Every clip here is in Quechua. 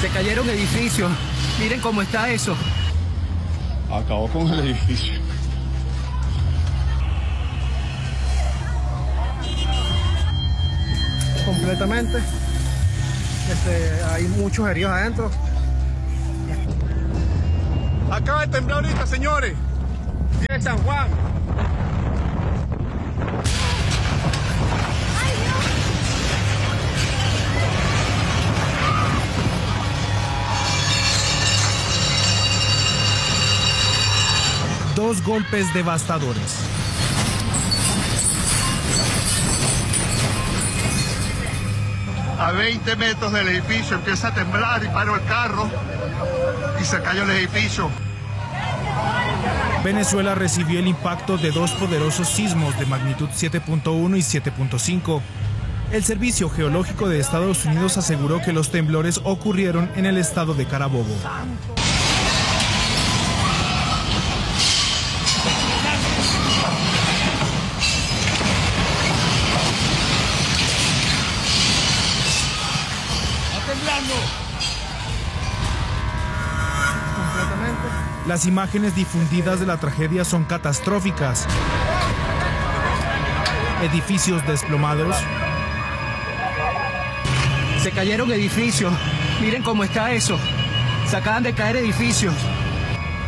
Se cayeron edificios. Miren cómo está eso. Acabó con el edificio. Completamente. Hay muchos heridos adentro. Acaba de temblar ahorita, señores. Viene San Juan. Dos golpes devastadores. A 20 metros del edificio empieza a temblar y paró el carro y se cayó el edificio. Venezuela recibió el impacto de dos poderosos sismos de magnitud 7.1 y 7.5. El Servicio Geológico de Estados Unidos aseguró que los temblores ocurrieron en el estado de Carabobo. Las imágenes difundidas de la tragedia son catastróficas. Edificios desplomados. Se cayeron edificios. Miren cómo está eso. Se acaban de caer edificios.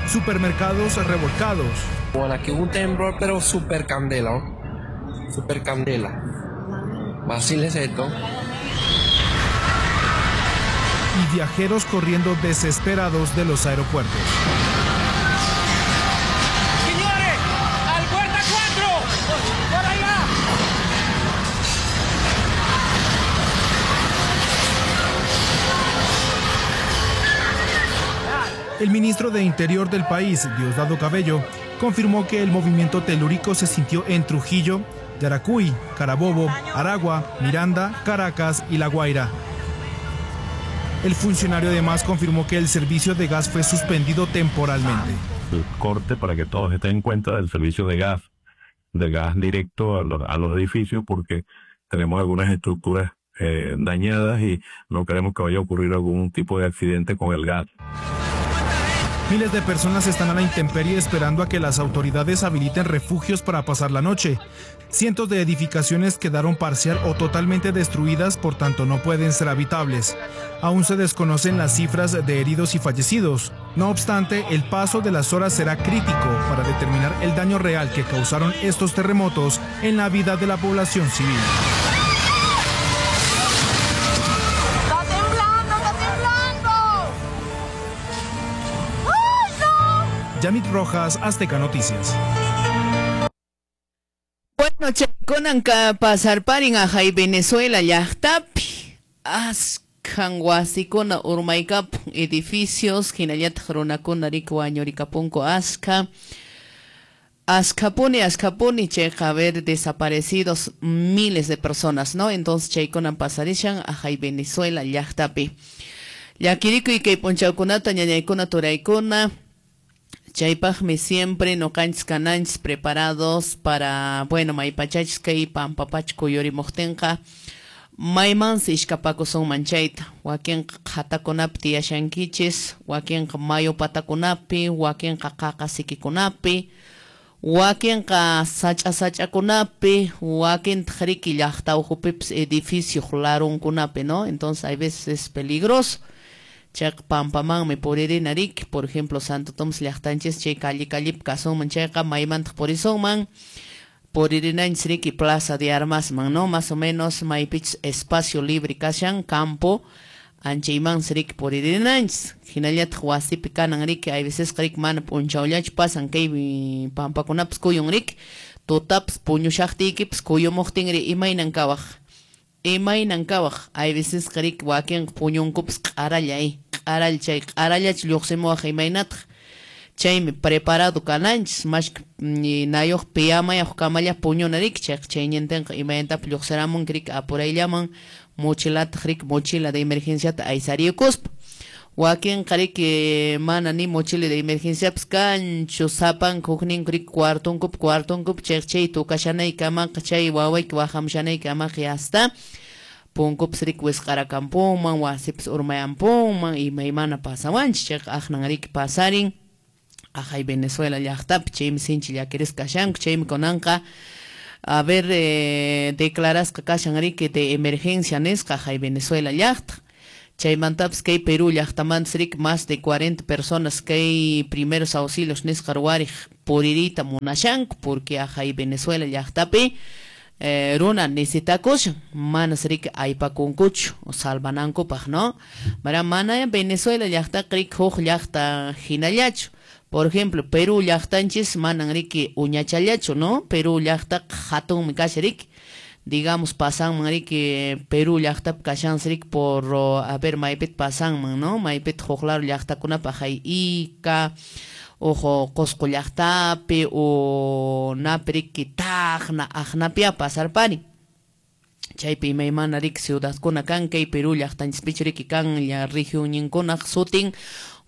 Supermercados revolcados. Bueno, aquí hubo un temblor, pero super candela, ¿no? Super candela. Fácil es esto. Y viajeros corriendo desesperados de los aeropuertos. ¡Señores! ¡Al puerta 4! ¡Por allá! El ministro de Interior del país, Diosdado Cabello, confirmó que el movimiento telúrico se sintió en Trujillo, Yaracuy, Carabobo, Aragua, Miranda, Caracas y La Guaira. El funcionario además confirmó que el servicio de gas fue suspendido temporalmente. El corte, para que todos estén en cuenta, del servicio de gas directo a los edificios, porque tenemos algunas estructuras dañadas y no queremos que vaya a ocurrir algún tipo de accidente con el gas. Miles de personas están a la intemperie esperando a que las autoridades habiliten refugios para pasar la noche. Cientos de edificaciones quedaron parcial o totalmente destruidas, por tanto no pueden ser habitables. Aún se desconocen las cifras de heridos y fallecidos. No obstante, el paso de las horas será crítico para determinar el daño real que causaron estos terremotos en la vida de la población civil. ¡Está temblando, está temblando! ¡Ay, no! Yamit Rojas, Azteca Noticias. Bueno, chaykunanka pasarparin ajay Venezuela llaqtapi askan wasikuna urmaykapun edificios hinallataq runakuna riki wañurikapunku aska askapuni askapuni chayqa a ver desaparecidos miles de personas, ¿no? Entonces chaykunan pasarishan ajay Venezuela llaqtapi. Llakirikuy kay p'unchawkunata ñañaykuna turaykuna. Chaypaqmi siempre noqanchis kananchis preparados para, bueno, maypachachis kay pampapacha kuyurimuqtinqa maymansi ishkapakusunman chayta. Wakinqa qhatakunapi tiyashankichis, wakinqa mayu patakunapi, wakinqa qaqa sikikunapi, wakinqa sach'a sach'akunapi, wakintaq riki llaqta ukhupipis edificio larunkunapi, ¿no? Entonces hay veces es peligroso. Chayqa pampamanmi puririna riki, por ejemplo, Santo Tomás llaqtanchis chay calle callipi kasunman chayqa maymantaq purisunman, puririnanchis riki Plaza de Armasman, ¿no? Más o menos maypichis espacio libre kashan, campo, anchaymansi riki puririnanchis. Hinallataq wasipi kanan riki, hay veces riki mana p'unchawllachu pasan kay pampakunapis kuyun riki, tutapis puñushaqtiykipis kuyumuqtinri imaynan kawaq. Imaynan kawaq, hay veces riki wakinqa puñunkupis q'arallay, q'arall chay q'arallachu lluqsimuwaq imaynataq. Chaymi preparado kananchis, mashka nayuq piyamayuq kamalla puñuna riki, chayqa chayñintinqa imaynatapas lluqsiramunki riki apurayllaman mochilataq riki mochila de emergenciata aysariyukuspa. Wakinqa riki mana ni mochila de emergenciapas kanchu, sapanka hukninku riki cuartonkupi cuartonkupi chayqa chay tukashanaykamaqa chay wawayki waqamushanayki hasta Punkupas riki wisq'arakampunman, wasipas urmayampunman, imaymana pasawanchis, chayqa aqnan riki pasarin ajay Venezuela llaqtapi, chaymi sinchi llakirisqa kashanku, chaymi kunanqa a ver declarasqa kashan riki de emergencia nisqa ajay Venezuela llaqta. Chaymantapas kay Perú llaqtamantas riki más de 40 personas kay primeros auxilios nisqa ruwariq puririyta munashanku, porque ajay Venezuela llaqtapi runa necesitakushan, manas riki aypakunkuchu salvanankupaq, ¿no? Mara mana Venezuela llaqtaqa riki huk llaqta hinallachu. Por ejemplo, Perú llaqtanchis manan riki uñachallachu, ¿no? Perú llaqtaqa hatunmi kashan riki. Digamos, pasanman riki Perú llaqtapi kashansi riki por, a ver, maypita pasanman, ¿no? Maypita huk lado llaqtakunapaq hay Ica, ojo Cusco llaqtapi o napi riki Tacna, aqnapia pasarpani. Chaypi imaymana riki ciudadkuna kan, kay Perú llaqtanchispichu riki kan la regionninkunaq sutin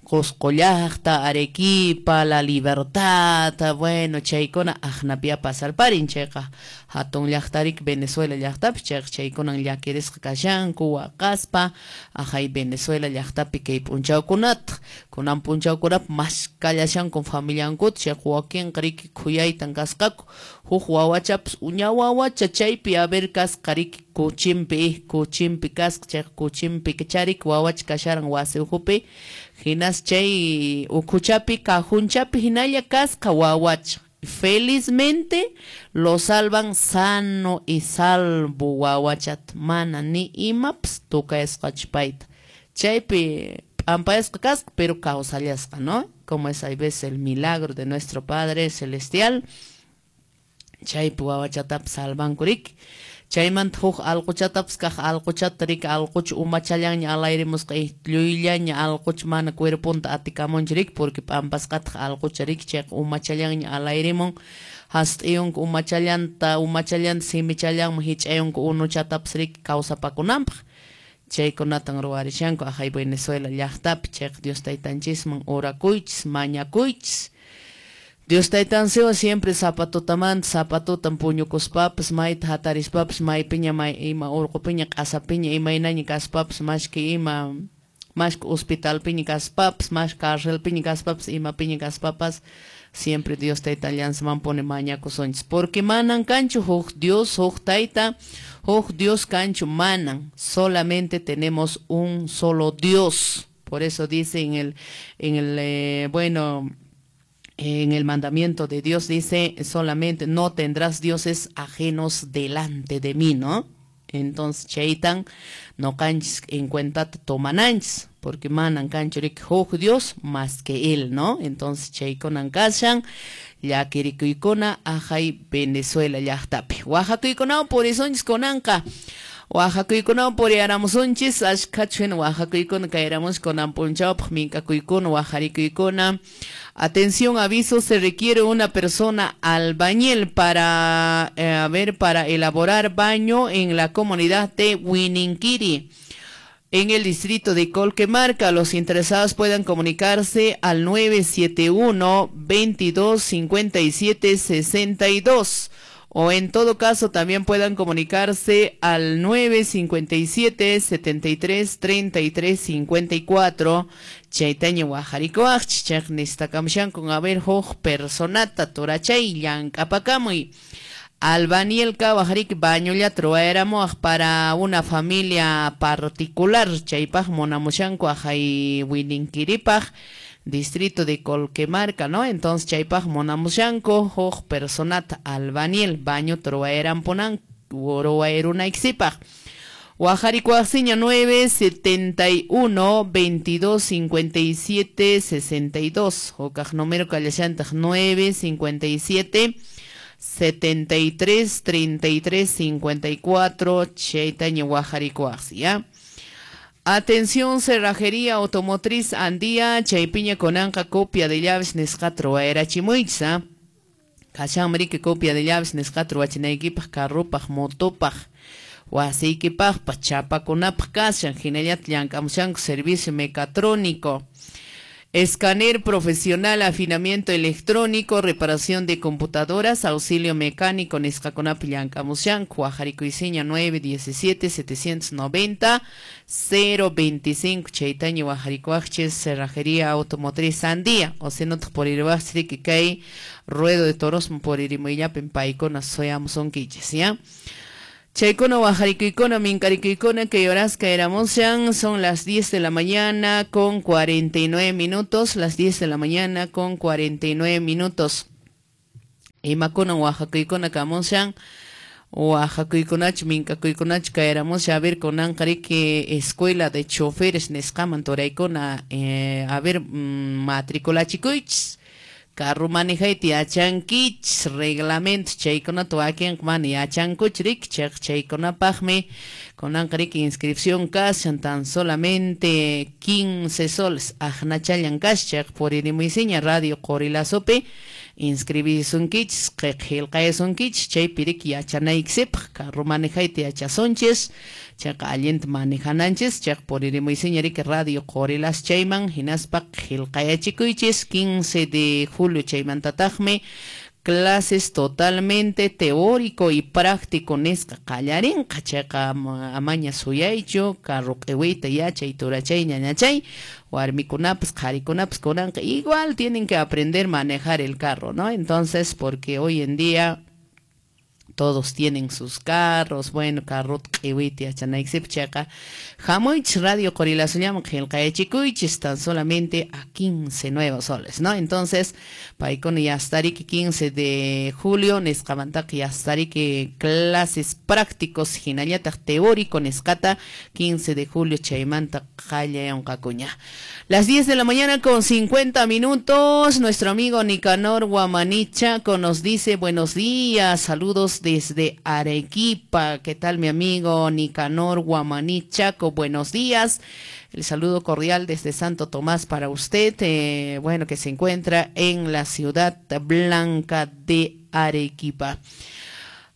Cusco llaqta, Arequipa, La Libertad, bueno, chaykuna aqnapia pasarparin, chayqa hatun llaqta riki Venezuela llaqtapi, chayqa chaykunan llakirisqa kashanku waqaspa ajay Venezuela llaqtapi kay p'unchawkunata, kunan p'unchawkunapi maskallashanku familiankuta, chayqa wakinqa riki khuyaytan kasqaku, huk wawachapas uña wawacha chaypi a ver kasqa riki kuchimpi, kuchimpi kasqa, chayqa kuchimpi charik wawacha kasharan wasi ukhupi, hinas chay ukhuchapi cajunchapi hinalla kasqa wawacha. Felizmente lo salvan sano y salvo wawachat, mana ni imapas tukayasqachu payta. Chaypi p'ampayasqa kasqa, pero kawsallasqa, ¿no? Como es hay veces el milagro de nuestro Padre Celestial. Chaypi wawachatapas salvanku riki. Chaymanta huk allquchatapas kaq allquchata riki allqucha umachallanña alayrimusqa lluyllaña allqucha mana cuerponta atikamunchu riki, porque p'ampasqataq allqucha riki, chayqa umachallanña alayrimun, hast'iyunku umachallanta, umachallanta simichallanman hich'ayunku unuchatapas riki kawsapakunanpaq. Chaykunatan ruwarishanku ajay Venezuela llaqtapi, chayqa Dios taytanchisman orakuychis, mañakuychis. Dios taytansiwan siempre zapatutamanta, zapatutan puñukuspapas, mayta hatarispapas, maypiña, may ima urqupiña, q'asapiña, imaynaña kaspapas, mashki ima, mashki hospitalpiña kaspapas, mashki carcelpiña kaspapas, imapiña kaspapas, siempre Dios taytallansaman pone mañakusunchis, porque manan kanchu huk Dios, huk tayta, huk Dios kanchu manan, solamente tenemos un solo Dios. Por eso dice en el mandamiento de Dios dice solamente no tendrás dioses ajenos delante de mí, ¿no? Entonces chaytan no canchis en cuenta tomananchis, porque manan kanchurik huk Dios más que él, ¿no? Entonces chaykunan kashan llakirikuykuna ajay Venezuela llaqtapi. Oaxacuykuna purisonchis kunanqa. Oaxacuykuna puriaramusunchis, ashkhachu hina oaxacuykuna kayramus kunan punchawpaq minkakuykuna, oaxarikuykuna. Atención, aviso, se requiere una persona albañil para, para elaborar baño en la comunidad de Huininquiri, en el distrito de Colquemarca. Los interesados puedan comunicarse al 971 22 57 62. O en todo caso también puedan comunicarse al 957 73 33 54. Chaytaña wajarikuaqchis, chayqa nistakamushan con a ver huk personata turachay llank'apakamuy. Albaniel kawajarik bañollata ruwayramuwaq para una familia particular, chaypaq munamushanku ajay Huininquiripaq, distrito de Colquemarca, ¿no? Entonces chaypaq munamushanku huk personata albaniel baño ruwayrampunan ruwayrunaykisipaq. Oaxarikuaqsiña 971 22 57 62. Hukaq número kallashantaq 957 73 33 54. Chaytaña oaxarikuaqsi, ¿ya? Atención, cerrajería automotriz Andía, chaypiña konanqa copia de llaves nisqata ruwayrachimuychis, ¿ah? Kashanmi riki copia de llaves nisqata ruwachinaykipaq, carrupaq, motopaq, wasiykipaqpas, chapakunapaq kashan, hinallata llank'amushanku servicio mecatrónico. Escáner profesional, afinamiento electrónico, reparación de computadoras, auxilio mecánico, nisqakunapi llank'amushanku. Wajarikuysiña 917 790 025 chaytaña wajarikuwaqchis Cerrajería Automotriz Sandía. O si no puririwaqchis riki kay Ruedo de Toros puririmuyllapin paykuna suyamusunkichis, ¿ya? Chaykuna wajarikuykuna minkarikuykuna que horas caeramushan, son las 10 de la mañana con 49 minutos, las 10 de la mañana con 49 minutos. Imakuna wajakuykuna kamushan, wajakuykunach minkakuykunach caeramushan, a ver kunanqa riki escuela de choferes nisqaman turaykuna, a ver matriculachikuychis. Carro manejayta yachankichis, reglamento chaykunata wakinqa mana yachankuchu riki, chayqa chaykunapaqmi kunanqa riki inscripción kashan tan solamente 15 soles aqnachallan kashan, chayqa puririmuysiña Radio Qorilazopi inscribisunkichis, qillqayasunkichis, chaypi riki yachanaykisipaq carro manejayta yachasunchis, chayqa allinta manejananchis, chayqa puririmuysiña riki Radio Qorilazo chayman hinaspa qillqayachikuychis 15 de julio chaymantataqmi clases totalmente teórico y práctico nisqa qallarinqa, chayqa amaña suyaychu carro q'iwiyta yachay turachay ñañachay, warmikunapas qharikunapas kunanqa igual tienen que aprender a manejar el carro, ¿no? Entonces, porque hoy en día todos tienen sus carros, bueno, carro q'iwiyta yachanaykisipaq, chayqa hamuychis Radio Qorilazollaman qillqayachikuychis tan solamente a 15 nuevos soles, ¿no? Entonces, paykuna ya estariki 15 de julio nisqamantaqa ya estariki clases prácticos hinallataq teórico nisqata 15 de julio chaymanta qallayunqakuña. Las 10 de la mañana con 50 minutos, nuestro amigo Nicanor Guamanichaco nos dice buenos días, saludos desde Arequipa. ¿Qué tal mi amigo Nicanor Guamanichaco? Buenos días. El saludo cordial desde Santo Tomás para usted, bueno, que se encuentra en la ciudad blanca de Arequipa.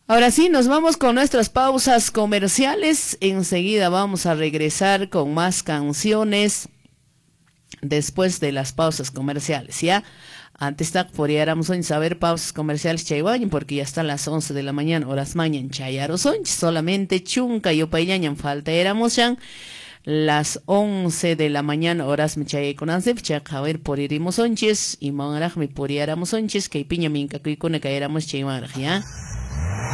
Ahora sí, nos vamos con nuestras pausas comerciales. Enseguida vamos a regresar con más canciones después de las pausas comerciales, ¿ya? Antes puriáramos saber pausas comerciales chaywañan, porque ya están las 11 de la mañana, horas mañan chayarosonchis, solamente chunka yupayllañan falta éramos ya las 11 de la mañana, horas chayaykunansip, chayqa a ver puririmosonchis, y manraqmi puriáramos onchis, kay piña minkakuykuna kayéramos chaywanraq, ¿ya?